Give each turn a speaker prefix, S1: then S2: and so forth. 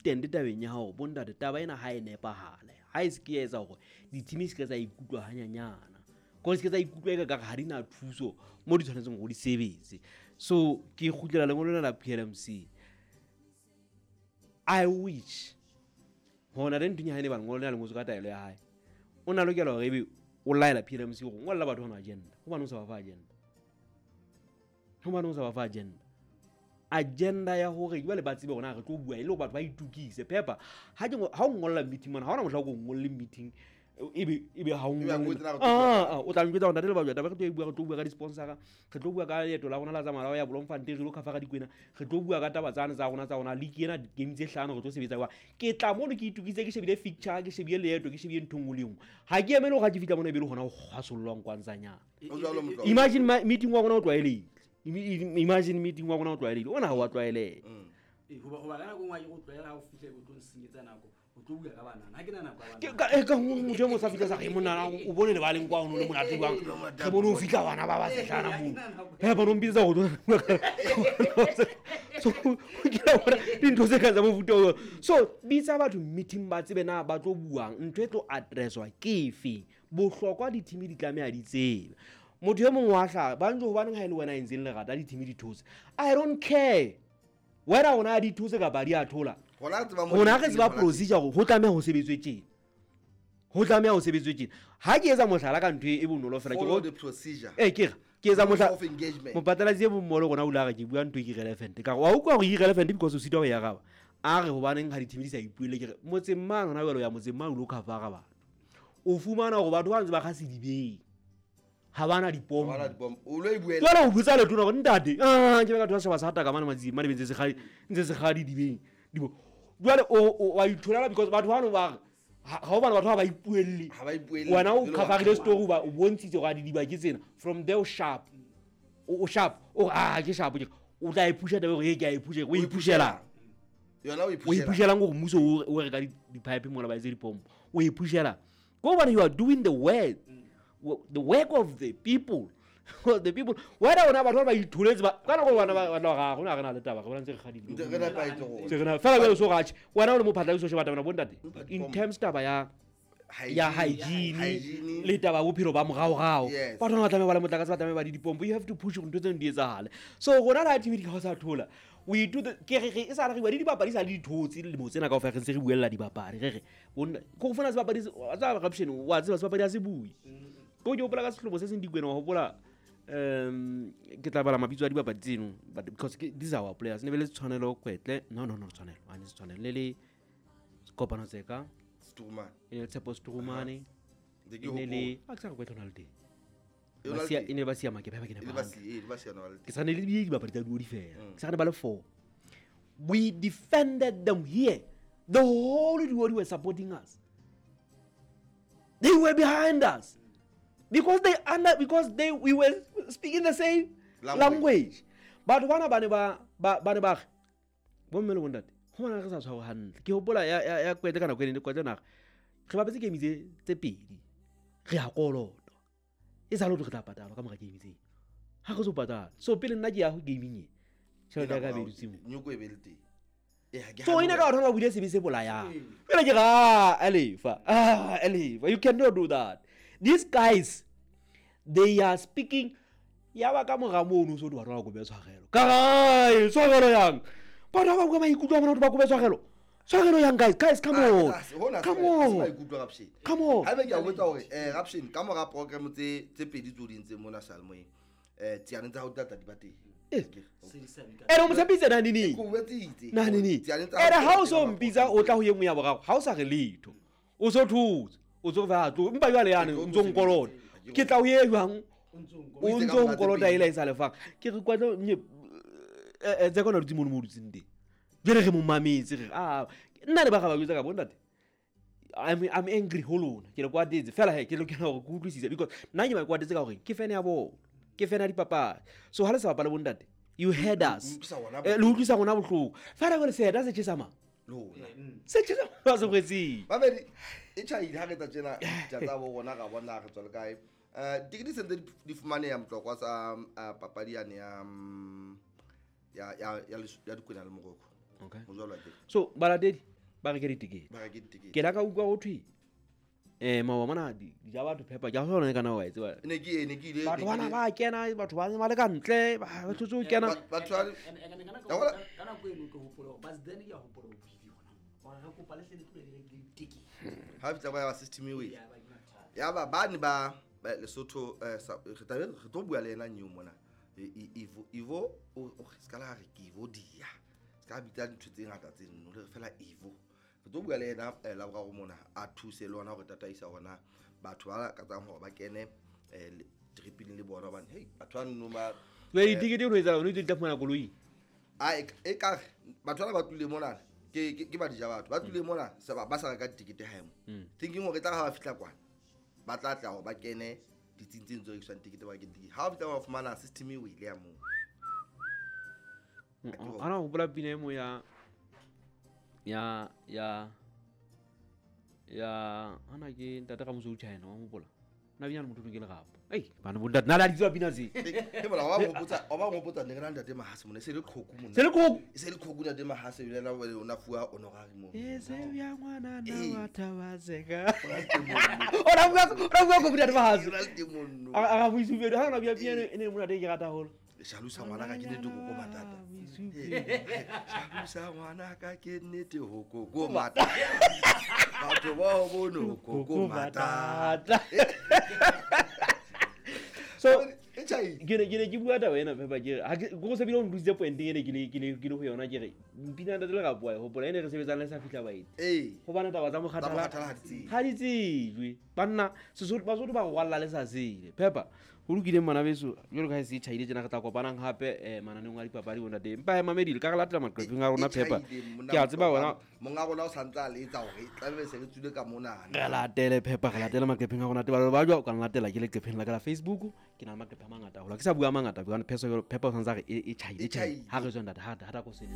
S1: Insistent tabeng ya hore bontate, taba ena ha e nepahale, ha e se ke ya etsa hore di-team se ke tsa ikutlwa hanyanyana, ko se ke tsa ikutlwa e ka kare ha di na thuso mo di tshwanetseng hore di sebetse. So ke kgutlela lengolo lena la PLMC. I wish hona le nthong ya hae ne ba lengolo lena le ngotswe ka taelo ya hae, o na lokela hore ebe o laela PLMC hore ngolla batho hona agenda. Hobane o sa ba fa agenda, hobane o sa ba fa agenda, agenda ya hore jwale ba tsebe hore na re tlo bua, e le hore batho ba itukise pepa. Ha ke ha o ngolla meeting mona, ha hona mohla o ko ngolle meeting ebe ha o
S2: Ebe a
S1: ngolle.
S2: ngotse na re tlo
S1: Ah, ah, o tla njwetsa hore ntate le ba taba re tlo e bua, re tlo bua ka di-sponsora, re tlo bua ka leeto la rona la tsamaya la ho ya Bloemfontein, re lo cover dikwena, re tlo bua ka taba tsane tsa rona, tsa rona league ena, game tse hlano re tlo sebetsa jwang. Ke tla mono ke itukisitse, ke shebile fixture, ke shebile leeto, ke shebile ntho e nngwe le e nngwe. Ha ke emele hore ha ke fihla mona e be le hona ho kgwasollwang kwantsanyana.
S2: O jwalo, Motlwa.
S1: Imagine meeting wa rona o tlwaelehile. Imagine meeting wa rona o tlwaelehile, ona ha wa tlwaeleha.
S3: Ee, hoba ka nako e nngwe ha ke go tlwaela, ha o fihla e bo tlo nsenyetsa nako, o tlo bua ka banana, ha ke na nako ya
S1: Ke
S3: banana.
S1: ka motho e mong o sa fihla sa re, monna, o bone lebaleng kwa, o no le monate jwang? Re bone o fihla bana ba ba sehlana moo. He, bona o mpitsetsa ho tlo- So, ke la bona dintho tse kang tsa mofuta oo. So bitsa batho meeting, ba tsebe na ba tlo buang, ntho e tlo addresswa ke efe. Bohlokwa di-team di tlameha di tsebe. Motho e mong wa hlaha ba ntse, hobaneng ha e le wena a entseng lerata di-team di thotse? I don't care whether ona di thotse kapa di a thola.
S2: Rona re tseba mo
S1: Rona
S2: di
S1: re tseba
S2: teng, hona
S1: procedure hore ho tlameha ho sebetswe tjena, ho tlameha ho sebetswe tjena. Ha ke etsa mohlala ka ntho e bonolo fela, ke
S2: Follow
S1: re
S2: the procedure.
S1: Ee, ke re ke etsa
S2: Rules
S1: mohlala
S2: of engagement.
S1: Mopatalatsi e mong mo le rona o ile a re ke bua ntho e ke irrelevant, ka re wa utlwa hore irrelevant because o sitwa ho e araba. A re hobaneng ha di-team di sa ipuelle? Ke re motseng mane hona jwale, o ya motseng mane o lo cover-a batho, o fumana hore batho ba ntse ba kga sedibeng, ha bana dipompo.
S2: Ha bana dipompo. O lo e buela.
S1: Jwale o botsa letona hore ntate, ah, ke batho ba setjhaba sa hataka mane matsing mane, ntse se kgadi, ntse se kgadi dibeng. Dibo. Jwale o wa itholela because batho bano ba re, ha o bana batho ba ba ipuelle.
S2: Ha ba ipuelle.
S1: Wena o
S2: Jwale wa
S1: cover-ile
S2: thola.
S1: story, o bontshitse hore a didiba ke tsena. From there o sharp. O sharp. O re, ah, ke sharp, ke re, o tla e pusha taba hore, e, ke a e pusha, o e pushelang.
S2: Yona o e
S1: O e
S2: pushelang.
S1: pushelang hore mmuso o reka di-pipe mola ba etse dipompo. O e pushelang. Go hobane you are doing the work. The work of the people. The people. Whether ona batho ba ba itholetse ba, ka nako bana ba, ba ga rona re na le taba, re bona ntse re kgadile.
S2: Ntse re nepahetse rona.
S1: Ntse re na, fela jwale so ratjhe. Wena o le mophatlalatsi o sheba taba ena, bontate.
S2: Empa
S1: In
S2: dipompo.
S1: terms taba ya
S2: Hygiene.
S1: ya hygiene,
S2: Hygiene.
S1: le taba ya bophelo ba moraorao.
S2: Yes.
S1: Batho ba tlameha ba le motlakase, ba tlameha ba di dipompo. You have to push hore ntho tseno di etsahale. So rona le ha team di ka o sa thola, we do the, ke re, re, e sa le re bua le dibapadi, sa le dithotse dilemo tsena kaofela, re ntse re buella dibapadi. Re re, bonna, ke ho fumana sebapadi se, wa tseba corruption, wa tseba sebapadi ha se bue. Ko ke hopola ka sehlobo se seng Dikwena, wa hopola, ke tla bala mabitso a dibapadi tseno, but because ke, these are our players. Ne be le Tshwanelo Kwetle. No, no, no, Tshwanelo. Ha ne se Tshwanelo. Ne le Kopano Tseka.
S2: Strumane.
S1: E ne le Tshepo Strumane.
S2: Ntse ke
S1: E ne le
S2: hopola.
S1: a ke sa re Kwetle o na le teng.
S2: E o
S1: Ba
S2: na le
S1: siya,
S2: teng.
S1: e ne ba siya Makebe, ba ke
S2: E
S1: ne
S2: le
S1: ba
S2: ba
S1: hantle.
S2: siya, e le ba siya na ba le
S1: Ke sa ne le di dibapadi tsa duo di fela.
S2: Mm.
S1: Ke sa ne ba le 4. We defended them here. The whole duo were supporting us. They were behind us. Because they under, because they, we were speaking the same
S2: Language.
S1: language. Batho bana ba ne ba, ba, ba ne ba re, bomme le bontate, ho bona re sa tshware hantle. Ke hopola ya, ya, ya Kwetle ka nako e ne Kwetle na re, re bapetse game tse pedi, re a kolota. E sa le hore re tla patalwa ka mora game tse. Ha re so patala. So pele nna ke ya ho gaming e, tjhelete ya ka e be dutse moo.
S2: Nyoko e be le teng. Eh, ha ke
S1: So
S2: hane
S1: ina
S2: hore
S1: ka batho ba buile sebe se bolayang. Jwale ke re, ah, Elefa, ah, Elefa, you cannot do that. These guys, they are speaking. Ya ba ka mora mono so di batho ba kope tshwarelo. Ka re, tshwarelo yang? Batho ba bua maikutlo a bona hore ba kope tshwarelo. Tshwarelo yang, guys? Guys, come
S2: Ah,
S1: on.
S2: ke tlase, hona
S1: Come
S2: se
S1: on.
S2: maikutlo, Rapshen.
S1: Come on.
S2: Haebe ke a botsa hore, Rapshen, ka mora program tse pedi tseo di entseng mona Seyalemoyeng, tsiane tsa hao di tla tla di ba teng.
S1: Eh.
S2: Ke
S3: Se di sa bi ka-
S1: Ene o mo tshepise na nini?
S2: Ke o jwetsitse.
S1: Na nini?
S2: Tsiane tsa
S1: Ene
S2: hao
S1: ha o
S2: di
S1: so
S2: tla tla
S1: mpitsa, o tla ho e nngwe ya boraro, ha o sa re letho. O so thotse, o tso fa tlo, empa jwale yane o ntso nkolota. Ke tla o ye jwang?
S3: O ntso nkolota.
S1: O ntso nkolota ela e sa lefang. Ke re kwatlo nye, tse kona dutse mono mo dutseng teng. Jwale re mo mametse, re re, ah, nna le ba ga ba jwetsa ka bo ntate. I'm angry ho lona. Ke le kwatetse. Fela he, ke lokela hore ke utlwisise because nna ke ba kwatetse ka hore ke fan ya bona. Ke fan ya dipapadi. So ha le sa bapale bo ntate, you heard us.
S2: Le utlwisa rona
S1: Le utlwisa rona bohloko. Fela jwale seeta se tjhesa mang?
S2: Lona.
S1: Se tjhesa mang ba se kgwetseng?
S2: Mamedi, e tjhaile ha re etsa tjena, ditja tsa bo rona ra bona re tswa le kae. Tikete se ntse di fumaneha Motlokwa sa, papadi yane ya, ya, ya, ya ya Dikwena le Morocco.
S1: Okay.
S2: Mojwalo wa teng.
S1: So, balatedi, Ba reke ditekete.
S2: Ba reke ditekete.
S1: Ke la ka utlwa ho thwe maoba mona di ja batho phepa ke a sona kana wa e tseba.
S2: Ne ke ile
S1: Batho
S2: ne ke
S1: bana ba kena, batho ba ne ba le ka ntle, ba tlotse ho kena.
S2: Batho ba
S3: And
S2: Ya bona-
S3: ka nako eno ke hopola hore bas then ke a hopola ho buile hona moo. Hore re kopa le hle le tlohe le reke ditekete.
S2: Ha fihla ba ya ba system e wele.
S3: Ya ba ke mathata.
S2: Ya ba bane ba Lesotho, re tla be re tlo bua le ena nyeo mona. Ivo o se ka la re ke Ivo dia se ka bitsa dintho tse ngata tse nno le re fela Ivo. Re tlo bua le ena Laboraro mona, a thuse le ona hore tataisa hona batho ba lakatsang hore ba kene triping le bona, hobane hei, batho ba nno ba
S1: Jwale ditekete o no etsahala, o no itse di tla fumana koloi.
S2: A e kare batho bana ba tlile mona ke ba dija, batho ba tlile mona ba sa reka ditekete hae mo, thinking hore e tla re ha ba fihla kwana ba tla tla hore ba kene ditsing tse ntse rekiswang tekete, ba reke tekete. Ha ba fihla ba fumana system e wele ya moo.
S1: Ana o hopola pina e mo ya ana ke ntate Ramoso China wa mopola na bina le motho ke lerapo ei bana bo ntate na le di tswa pina tse.
S2: Ke bona wa ba ngopotsa, wa ba ngopotsa, ne re na le ntate Mahase mona, e se le qhoku mona.
S1: Se le koko.
S2: E se le qhoku ntate Mahase, ebile ena o na fuwa honorary mo.
S1: E se bja ngwana na
S2: Ee.
S1: wa thabaseka.
S2: O na le teng mono.
S1: Ora bua ko ntate Mahase.
S2: O na le teng mono.
S1: A ga boisupe ha na bia pina e ne monate, ke rata haholo.
S2: Jalosa ngwana ka ke nnete ho koko matata. Jalosa ngwana ka ke nnete ho koko matata. Batho bao bono ho koko matata.
S1: So
S2: E tjhai.
S1: ke ne ke bua taba ena phepa, ke re ha ke go se bile o ntlositse pointeng ene ke le ho yona, ke re mpina ntate le rapoa e hopola ene re sebetsang le sa fihla baeti hobane taba tsa
S2: Tsa
S1: mokgathala
S2: mokgathala ha di tsejwe.
S1: Ha di tsejwe banna. Sesotho, Basotho ba rwalla le sa sele phepa. Ho lokileng bana beso, jwalo ka ha e se e tjhaile tjena, re tla kopanang hape mananeong a dipapadi bontate, empa he mamedile ka re latela maqepheng a rona
S2: E
S1: phepa.
S2: tjhaile, monna
S1: Ke a tseba wena.
S2: Monga rona o santse a letsa hore tlabe se re tswile ka monana.
S1: Re latele phepa, re latele maqepheng a rona. Tebalo ba jwa o ka nlatela ke leqepheng la ka la Facebook. Ke na le maqephe a mangata haholo, ha ke sa bua a mangata hobane phepa o santse a re e tjhaile.
S2: E
S1: e tjhaile
S2: tjhaile.
S1: Ha re tswe ntate ha ta ko sele.